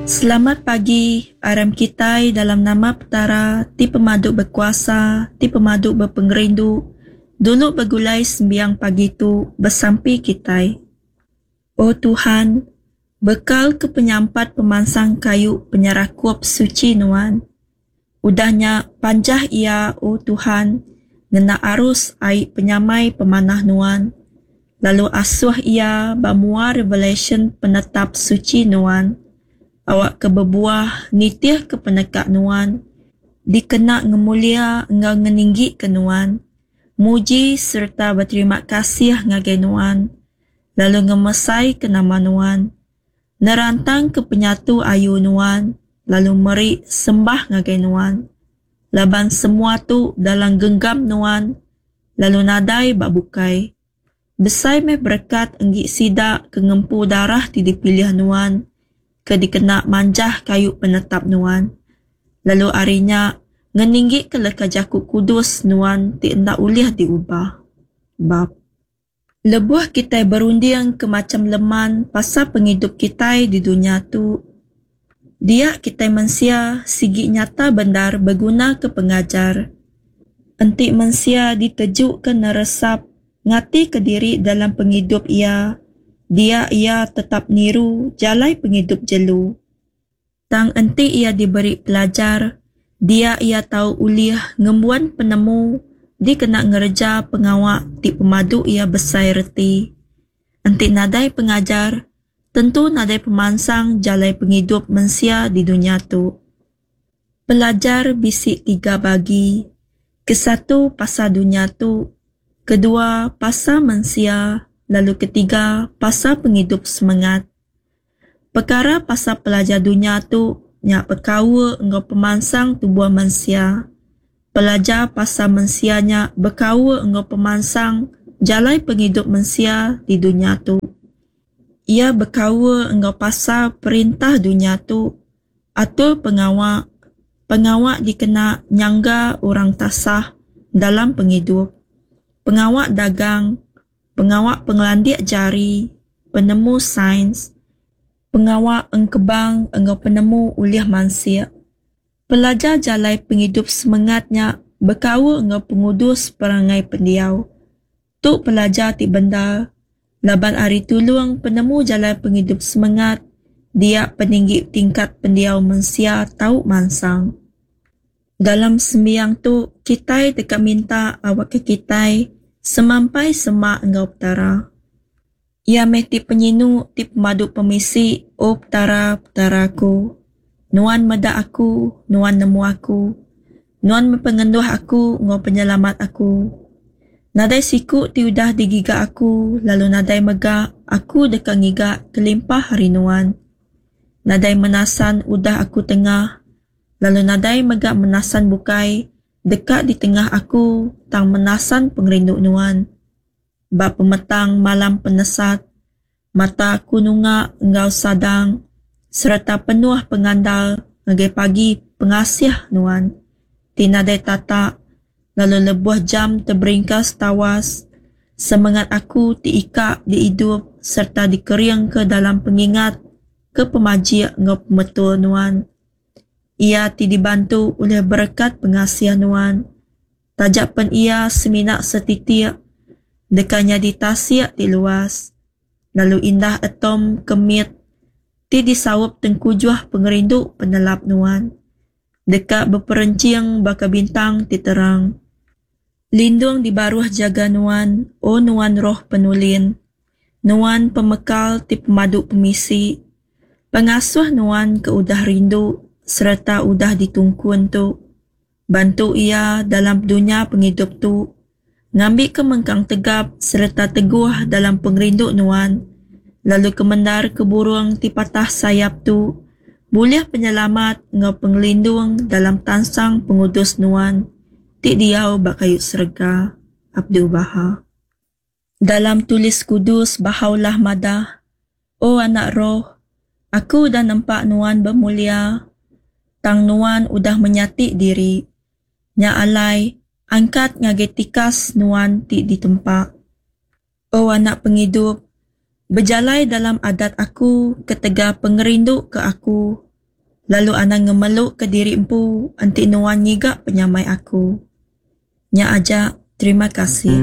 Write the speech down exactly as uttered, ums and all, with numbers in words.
Selamat pagi, aram kitai dalam nama Petara ti pemadu bekuasa, ti pemadu bepengerindu, dulu begulai sembiang pagi tu besampi kitai. O Tuhan, bekal ke penyampat pemansang kayu penyerakup suchi Nuan. Udah nya panjah iya, O Tuhan, ngena arus ai penyamai pemanah Nuan, lalu asuh iya ba mua revelasyen penetap suchi Nuan, awakka bebuah nitihka peneka Nuan, dikena ngemulia enggau ngeninggika Nuan, muji sereta beterima kasih ngagai Nuan, lalu ngemesaika nama Nuan, nerantangka penyatu ayu Nuan, lalu meri sembah ngagai Nuan, laban semua tu dalam genggam Nuan, lalu nadai ba bukai. Besai meh berekat enggi sida ke ngempu darah ti dipilih Nuan, ke dikena manjah kayu penetap Nuan, lalu ari nya ngeninggika leka jaku kudus Nuan ti enda ulih diubah. Bab. Lebuh kitai berunding ke macham leman pasal pengidup kitai di dunya tu, dia kitai mensia sigi nyata bendar begunaka pengajar. Enti mensia ditejuka neresap ngatika diri dalam pengidup iya, dia iya tetap niru jalai pengidup jelu. Tang enti iya diberi pelajar, dia iya tau ulih ngembuan penemu dikena ngereja pengawa ti pemadu iya besai reti. Enti nadai pengajar, tentu nadai pemansang jalai pengidup mensia di dunya tu. Pelajar bisi tiga bagi, kesatu pasal dunya tu, kedua pasal mensia lalu ketiga pasal pengidup semengat. Pekara pasal pelajar dunya tu nya bekaul enggau pemansang tubuh mensia. Pelajar pasal mensia nya bekaul enggau pemansang jalai pengidup mensia di dunya tu. Iya bekaul enggau pasal perintah dunya tu, atur pengawa, pengawa dikena nyangga orang tasah dalam pengidup, pengawa dagang, pengawa pengelandik jari, penemu sains, pengawa engkebang enggau penemu ulih mansik. Pelajar jalai pengidup semengat nya bekaul enggau pengudus perangai pendiau. Tu pelajar ti bendar, laban ari tulung penemu jalai pengidup semengat, dia peninggi tingkat pendiau mensia tau mansang. Dalam sembiang tu, kitai deka minta awakka kitai semampai semak enggau Petara. Iya meh ti penyinu ti pemadu pemisi, O Petara, Petara aku. Nuan meda aku, Nuan nemu aku. Nuan meh pengenduh aku enggau penyelamat aku. Nadai siku ti udah digiga aku lalu nadai mega aku deka ngiga kelimpah ari Nuan. Nadai menasan udah aku tengah lalu nadai mega menasan bukai deka ditengah aku tang menasan pengerindu Nuan. Ba pemetang malam penesat, mata aku nunga enggau sadang sereta penuh pengandal ngagai pagi pengasih Nuan ti nadai tatak lalu lebuh jam teberingkas tawas, semengat aku ti ikak diidup sereta dikeringka dalam pengingat ke pemajik enggau pemetul Nuan. Iya ti dibantu ulih berekat pengasih Nuan, taja pen iya semina setitik, deka nyadi tasik ti luas, lalu indah atom ke mit ti disaup tengkujuh pengerindu penelap Nuan, deka beperenching baka bintang ti terang. Lindung di baruh jaga Nuan, O Nuan Roh Penulin, Nuan pemekal ti pemadu pemisi, pengasuh Nuan ke udah rindu sereta udah ditungkun tu. Bantu iya dalam dunya pengidup tu, ngambika mengkang tegap sereta teguh dalam pengerindu Nuan, lalu kemendarka burung ti patah sayap tu bulih penyelamat enggau pengelindung dalam tansang pengudus Nuan ti diau ba kayu serega. Abdu'l-Baha. Dalam Tulis Kudus Baha'u'llah madah, O anak roh, Aku udah nempa nuan bemulia, tang nuan udah menyati diri. Nya alai, angkat ngagai tikas nuan ti ditempa. O anak pengidup, bejalai dalam adat Aku ketegal pengerindu ke Aku, Lalu anang ngemelu ke diri empu enti nuan ngiga penyamai aku. Nya aja, terima kasih.